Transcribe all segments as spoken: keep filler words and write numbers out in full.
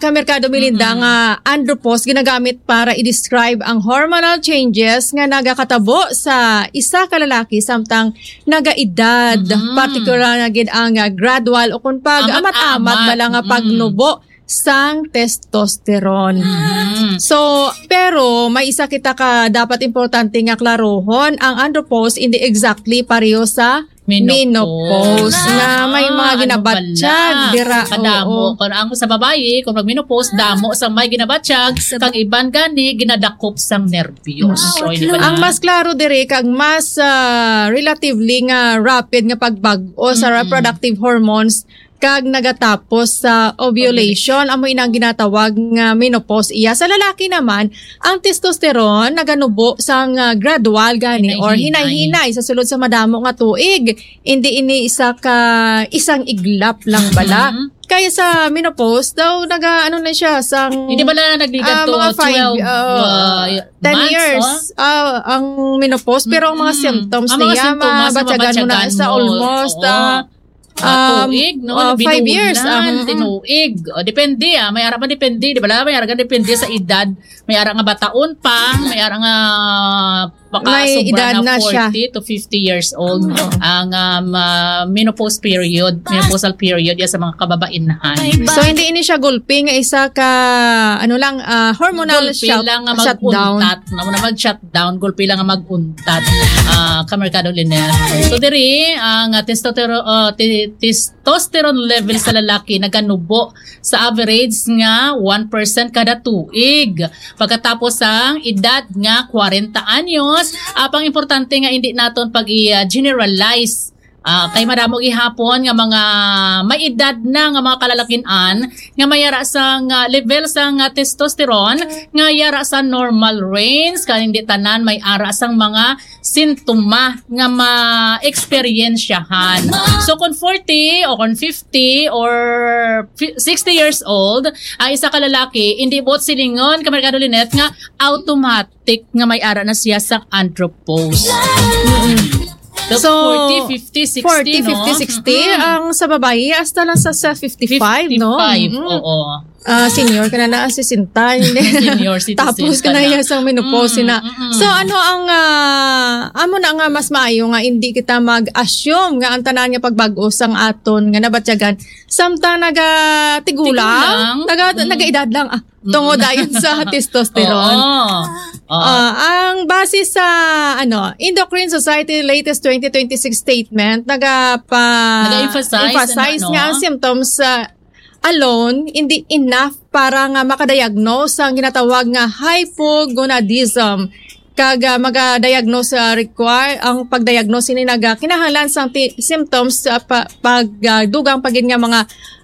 Kamerkado Melinda, Mm-mm. nga andropause ginagamit para i-describe ang hormonal changes nga nagakatabo sa isa ka lalaki samtang nagaedad, Mm-mm. particular na gid ang, ah, gradual o kung pag Amat-amat. amat-amat bala nga Mm. pagnubo sang testosterone. Mm-mm. So, pero may isa kita ka dapat importante nga klarohon, ang andropause hindi exactly pareho sa Menopause. menopause, nga may mga Ah, ano ginabatyag bala? dira. Kadamo. Oo. Kung ang sa babayi, kung nag-menopause, damo sa may ginabatyag, Sa kang iban gani, ginadakop sang nervyos. Mm. So, hindi ba Ang na? mas klaro diri, kag mas, ah, relatively nga rapid nga pagbag-o sa Mm-mm. reproductive hormones, kag nagatapos sa ovulation, amo ina ang ginatawag nga menopause iya. Sa lalaki naman, ang testosterone naganubo sang, ah, gradual gani or Hinay-hinay. hinay-hinay sa sulod sa madamo nga tuig. Hindi ini isa ka isang iglap lang bala. Mhm. Kaya sa menopause daw naga, ano na siya, sang, Hindi bala nagligad ah, to mga five, twelve, uh, uh, ten months, years, oh? ah, ang menopause. Pero ang mga Mm-mm. symptoms Ang mga niya, symptoms, mabatyagan mo na mabatyagan sa mo. almost, Oo. ah, Ah, um, tuig, no? ah, five Binulan, years, ah, mm-mm. tinuig. O, depende, ah. May ara pa depende, di ba? May ara ka depende sa edad. May ara nga bataon pa, may ara nga baka May sobra edad na na siya. forty to fifty years old Oo. ang, um, ah, menopause period, menopausal period, yan sa mga kababainhan. So, hindi ini siya gulpi nga isa ka, ano lang, ah, hormonal Gulpi shut-, lang nga shutdown. mag-untat. Amo na mag-shutdown, gulpi lang nga mag-untat, ah, Kamerkado Lynette. So, diri, ang, ah, testotero-, ah, ti-, testosterone level sa lalaki naganubo sa average nga one percent kada tuig. Pagkatapos sang edad nga kwarenta anyos, apang importante nga hindi naton pag-i-generalize. Ah, kay madamo gihapon nga mga may edad na nga mga kalalakin-an nga may ara sang, ah, level sang, ah, testosterone nga yara sa normal range, kay hindi tanan may ara sang mga sintoma nga ma-eksperyensyahan. So, kung forty o kung fifty or fi-, sixty years old, ang isa ka lalaki, hindi buot silingon, Kamerkado Lynette, nga automatic nga may ara na siya sa andropause. Mm-mm. So, So, forty, fifty, sixty, forty, no? fifty, sixty, Mm-mm. ang sa babayi, hasta lang sa, sa fifty-five, no? Fifty-five, Mm-mm. oo. Ah, senior ka na na, sesenta, hindi. Senior citizen Tapos ka ka na na. iya sa menopause Mm, na. mm-mm. So, ano ang, ah, amo na nga mas maayo nga hindi kita mag-assume nga ang tanan nga pagbag-o sang aton nga nabatyagan, samtang naga-tigulang, Tigulang. naga-, Mm. naga-edad lang, ah, Mm. tungod dayon sa testosterone. Oo. Oo. Ah, ang base sa, ano, Endocrine Society latest twenty twenty-six statement, nagapa-, Nag-emphasize, emphasize ano, nga no? ang symptoms, ah, alone, hindi enough para nga makadiagnose ang ginatawag nga hypogonadism. Kag, ah, maga-diagnose, ah, require, ang pag-diagnose ini naga kinahanglan sang ti-, symptoms, ah, pa-, pag, ah, dugang pa gid nga mga,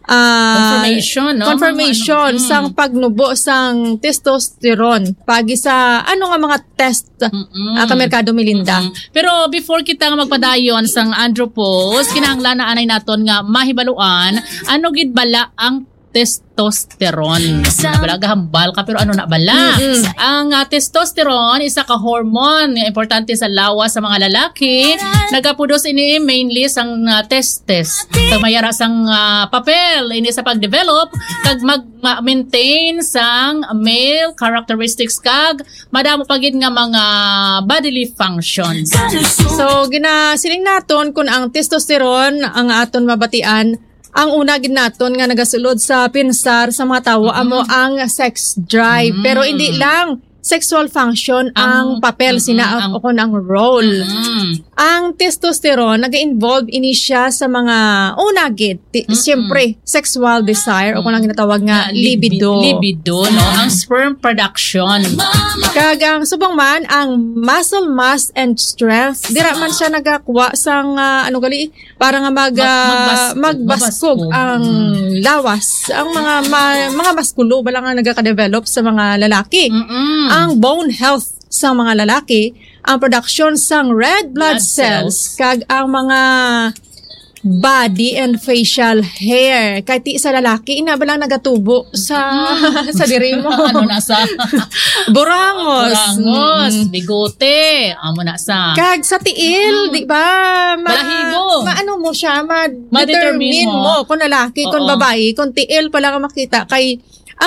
ah, Confirmation, no? confirmation Ano, mm. sang pagnubo sang testosterone. Pagi sa ano nga mga test, Mm-mm. ah, Kamerkado Melinda? Mm-mm. Pero before kita nga magpadayon sang andropause, kinahanglan na anay naton nga mahibaluan ano gid bala ang testosterone. Sa Ano bala, gahambal ka, pero ano na bala? Mm-mm. Ang, ah, testosterone, isa ka hormone nga importante sa lawas sa mga lalaki. Nagapudos ini mainly sang, ah, testes. Kag may ara sang, ah, papel ini sa pag-develop kag mag-, ma-, maintain sang male characteristics kag madamo pa gid nga mga bodily functions. So, ginasiling naton kung ang testosterone ang aton mabatian, ang una gid naton nga nagasulod sa pensar sa mga tawo Mm. amo ang sex drive. Mm. Pero hindi lang sexual function ang Ang, papel mm, sina ang o kon ang role. Mm. Ang testosterone, nag-involve ini siya sa mga una gid, ti-, Mm-mm. siyempre, sexual desire o kung ang Mm. ginatawag nga Nga libi-, libido. libido, no? Ang sperm production. Kag ang subong man, ang muscle mass and strength, dira man siya nagakuha sang, ah, ano gali, para nga mag, Mag-, ah, magbaskog, magbaskog magbaskog. ang Mm. lawas, ang mga ma-, mga maskulo bala nga nagaka-develop sa mga lalaki. Mm-mm. Ang bone health sa mga lalaki, ang production sang red blood Blood cells, cells. kag ang mga body and facial hair. Kay ti sa lalaki, ina ba lang nagatubo sa, Mm. sa diri mo? Ano na sa Burangos. Burangos, Mm. bigote, amo na sa Kag sa tiil, Mm. di ba? Ma-, Balahibo. maano mo siya, ma-determine Ma-determine mo. mo kung lalaki, kung Oo. babae, kung tiil pa lang ang makita kay